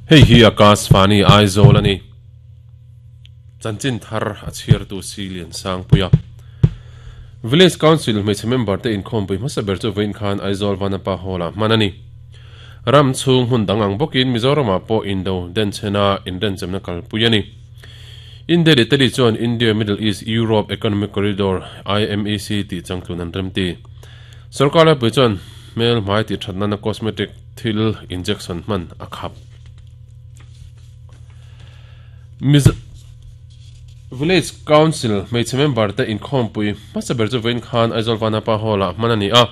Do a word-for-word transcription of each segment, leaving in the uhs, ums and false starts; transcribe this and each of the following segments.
Hei hi Akashvani Aizawl ani. Chanchin thar a chhiar tu si lian sang puia. Village Council hmeichhe member te inkhawm pui hmasa ber chu vawiin khan Aizawl Vanapa Hall-ah hman a ni. Ram chhung hmun dang ang bawkin Mizoramah pawh indo denchhena inrenchemna kalpui a ni. India leh Italy chuan India Middle East Europe Economic Corridor I M E C tih changtlun an remti. Sorkar laipui chuan hmel hmai tih that nana cosmetic thil injection hman a khap. Mizo Village Council hmeichhe member te inkhawm pui hmasa ber chu vawiin khan Aizawl Vanapa Hall-ah hman a ni a.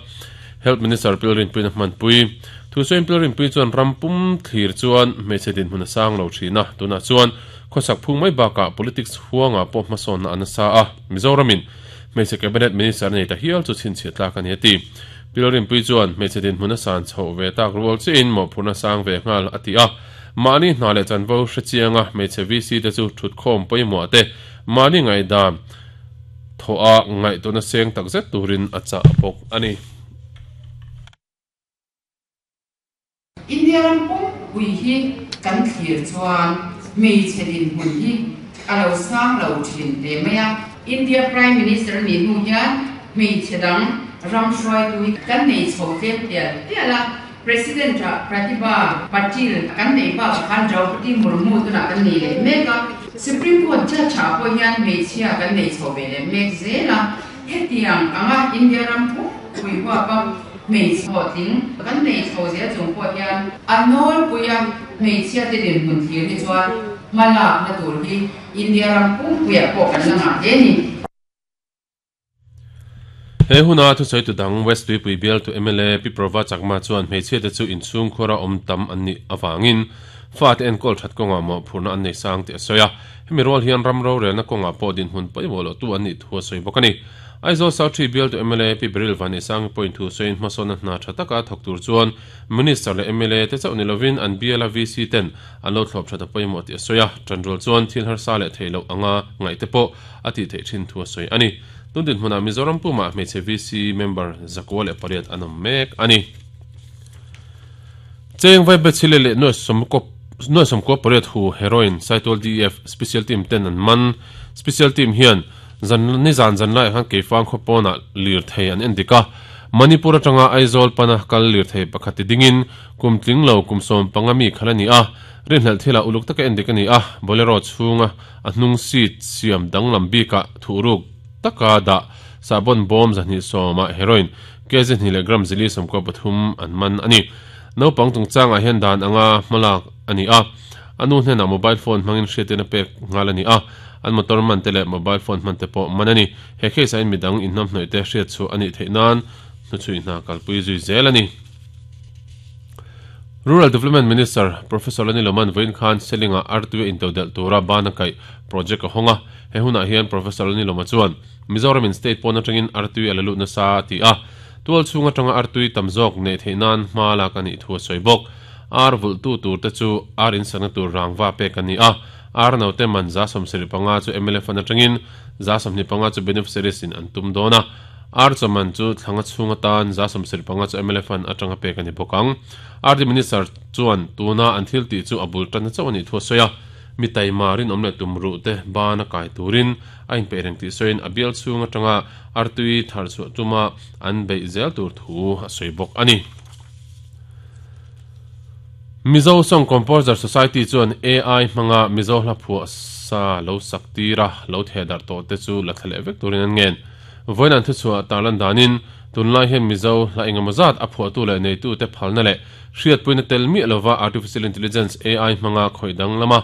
Health Minister Pilrin Puiin a hmanpui. Thusawiin Pilrin Pui chuan ram pum thlir chuan hmeichhe dinhmun a sang lo thin a. Tunah chuan khawsak phung mai bakah politics huangah pawh hmasawnna an nasa a. Mizoramin hmeichhe cabinet minister nei ta hial chu chhinchhiah tlak a ni a ti. Pilrin Pui chuan hmeichhe dinhmun a san chhoh ve tak rual chiin mawhphurhna sang ve nghal a ti a. Mahni hna leh chanvo hre chianga hmeichhe V C te chu thutkhawm pawimawh te mahni ngaihdan thaw a ngaihtuahna seng takzet turin a chah bawk a ni. India ram pum pui hi kan thlir chuan hmeichhe dinhmun hi a lo sang lo thin hle mai a. India Prime Minister nih hnu hian hmeichhe dang ram hruaitu hi kan nei chho tlem tial tial a. President ah Pratibha Patil kan nei bakah khan Draupadi Murmu tunah kan nei leh mek a. Supreme Court judge ah pawh hian hmeichhia kan nei chho ve leh mek zel a. Hetiang anga India ram pum pui huap a hmeichhe hlawhtling kan nei chho zel chung pawh hian a nawlpui a hmeichhia te dinhmun thlir hi chuan hma lakna tur hi India ram pum puiah pawh kan la ngah hle a ni. He huna thusawi tu dang West Tuipui bial tu M L A Pi Prova Chakma chuan hmeichhia te chu inchhung khuara awm tam an nih avangin fa te enkawl that kawngah mawhphurhna an nei sang tih a sawi a. Hemi rual hian ram rorelna kawngah pawh dinhmun pawimawh loh tu an nih thu a sawi bawk a ni. Aizawl South Three bial tu M L A Pi Beryl Vanneihsangi pawhin thu sawiin hmasawnna hna tha taka thawk tur chuan Minister leh M L A te chauh ni lovin an bial a V C ten an lo thlawp that a pawimawh tih a sawi a. Tanrual chuan thil harsa leh theih loh anga ngaih te pawh a tih theih thin thu a sawi a ni. Tun dinhmunah Mizoram pumah hmeichhe V C member zakua leh pariat an awm mek a ni. Cheng vai bechile leh nuai sawmkua pariat hu heroin Saitual D E F Special Team ten an man. Special Team hian zan ni zan zan laiah khan Keifang khawpawnah lir thei an en dik a. Manipur atanga Aizawl pana kal lir thei pakhat ti dingin kum tling lo kum sawm panga mi khal a ni a. Rinhlelh thilah uluk taka en dik a ni a. Bolero chhunga a hnung seat siam danglam bikah thuhruk taka dah sabon bawm zahnih sawmah heroin kg hnih leh gram zili sawmkua pathum an man a ni. Naupang chungchangah hian dan anga hmalak a ni a. Anu hnenah mobile phone hmangin hriatin a pek nghal a ni a. An motor man te leh mobile phone hman te pawh man a ni. He case ah in midang inhnam hnawih te hriat chu a nih theih nan hnuchhui hna kalpui zui zel a ni. Rural Development Minister Professor Lani Loman vawiin khan Selinga Artui intodelh tura bana kaih project a hawng a. He hunah hian Professor Lani Loma chuan Mizoramin state pawn atangin Artui a la lut nasa a ti a. Tual chhung atanga Artui tam zawk neih theih nan hma lak a nih thu a sawi bawk. Ar vulh tu tur te chu ar insakna tur rangva pek a ni a. Ar no te man za sawmsarih panga chu M L F an atangin za sawmhnih panga chu beneficiaries in an tum dawn a. Ar chaman chu thlanga chhung atan za sawmsarih panga chu M L F an atanga pek a ni bawk ang. R D Minister chuan tuna an thil tih chu a bul tanna chauh a nih thu a sawi a. Mi taima rinawm leh tumruh te bana kai turin a inpeih reng tih sawiin a bial chhung atanga Artui thar chhuah tuma an beih zel tur thu a sawi bawk a ni. Mizo Song Composer Society chuan A I hmanga Mizo hla phuah sa lo sak tira lo theh darh tawh te chu la thla leh vek turin an ngen. Vawiin an thuchhuah tarlan danin tunlai hian Mizo hla engemaw zat a phuahtu leh neitu te phalna leh hriatpuina tel miah lova Artificial Intelligence A I hmanga khawih dang lama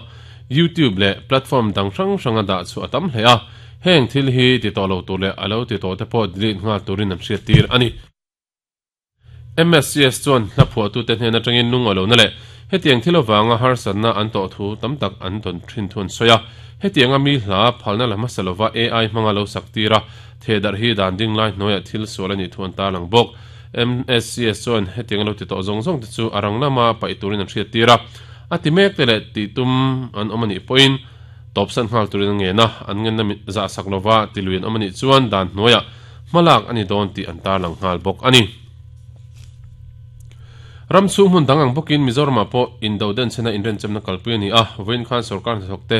YouTube leh platform dang hrang hranga dah chu a tam hle a. Heng thil hi ti tawh lo tur leh a lo ti tawh te pawh delete nghal turin an hriat tir a ni. M S C S chuan hla phuahtu te hnen atangin lung a lo na leh hetiang thil avanga harsatna an tawh thu tam tak an tawn thin thu an sawi a. Hetianga mi hla phalna la hmasa lova A I hmanga lo sak tir a theh darh hi dan ding lai hnuaiah thil sual a nih thu an tarlang bawk. M S C S chuan hetianga lo ti tawh zawng zawng te chu a rang lama paih turin an hriat tir a. A ti mek te leh tih tum an awm a nih pawhin tawpsan nghal turin an ngen a. An ngenna za sak lova ti lui an awm a nih chuan dan hnuaiah hmalak a ni dawn tih an tarlang nghal bawk a ni. Ram chhung hmun dang ang bawkin Mizoramah pawh indo den chena inrenchemna kalpui a ni a, vawiin khan sorkar hnathawkte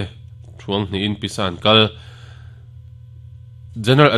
thuang hnihin pisa an kal. General